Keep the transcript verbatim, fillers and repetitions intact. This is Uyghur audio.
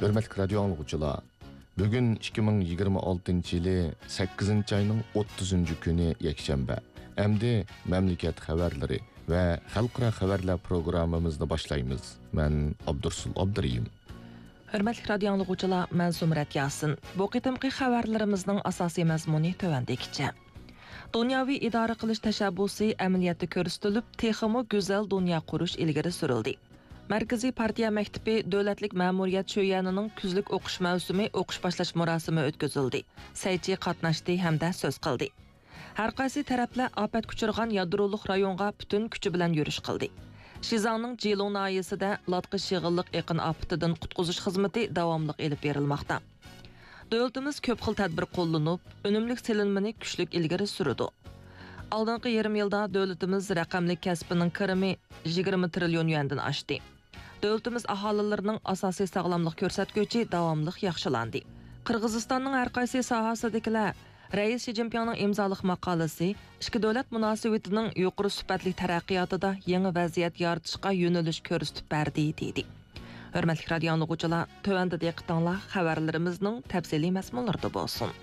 ھۆرمەتلىك رادىيو ئاڭلىغۇچىلار، بۈگۈن ئىككى مىڭ يىگىرمە ئالتىنچى يىلى سەككىزىنچى ئاينىڭ ئوتتۇزىنچى كۈنى يەكشەنبە. ئەمدى مەملىكەت خەۋەرلىرى ۋە خەلقئارا خەۋەرلەر پروگراممىمىزنى باشلايمىز. مەن ئابدۇرسۇل ئابدۇرېھىم. ھۆرمەتلىك رادىيو ئاڭلىغۇچىلار، مەن زۇمرەت ياسىن. بۇ قېتىمقى خەۋەرلىرىمىزنىڭ ئاساسىي مەزمۇنى تۆۋەندىكىچە. دۇنياۋى ئىدارە قىلىش تەشەببۇسى ئەمەلىيەتتە كۆرسىتىلىپ، تېخىمۇ گۈزەل دۇنيا قۇرۇش ئىلگىرى سۈرۈلدى. مەركىزىي پارتىيە مەكتىپى دۆلەتلىك مەمۇرىيەت شۆيۈەنىنىڭ كۈزلۈك ئوقۇش مەۋسۇمى ئوقۇش باشلاش مۇراسىمى ئۆتكۈزۈلدى. سەيچى قاتناشتى ھەمدە سۆز قىلدى. ھەر قايسى تەرەپلەر ئاپەتكە ئۇچرىغان يادرولۇق رايونغا پۈتۈن كۈچى بىلەن يۈرۈش قىلدى. شىزاڭنىڭ جىلۇڭ ناھىيەسىدە لاتقا شېغىللىق ئېقىن ئاپىتىدىن قۇتقۇزۇش خىزمىتى داۋاملىق ئېلىپ بېرىلماقتا. دۆلىتىمىز كۆپ خىل تەدبىر قوللىنىپ، ئۈنۈملۈك سېلىنمىنى كۈچلۈك ئىلگىرى سۈرىدۇ. ئالدىنقى يېرىم يىلدا دۆلىتىمىز رەقەملىك كەسپىنىڭ كىرىمى يىگىرمە تىرىليون يۈەندىن ئاشتى. دۆلىتىمىز ئاھالىلىرىنىڭ ئاساسىي ساغلاملىق كۆرسەتكۈچى داۋاملىق ياخشىلاندى. قىرغىزىستاننىڭ ھەر قايسى ساھەسىدىكىلەر رەئىس شى جىنپىڭنىڭ ئىمزالىق ماقالىسى ئىككى دۆلەت مۇناسىۋىتىنىڭ يۇقىرى سۈپەتلىك تەرەققىياتىدا يېڭى ۋەزىيەت يارىتىشقا يۆنىلىش كۆرسىتىپ بەردى، دېدى. ھۆرمەتلىك رادىيو ئاڭلىغۇچىلار، تۆۋەندە دىققىتىڭلار خەۋەرلىرىمىزنىڭ تەپسىلىي مەزمۇنلىرىدا بولسۇن.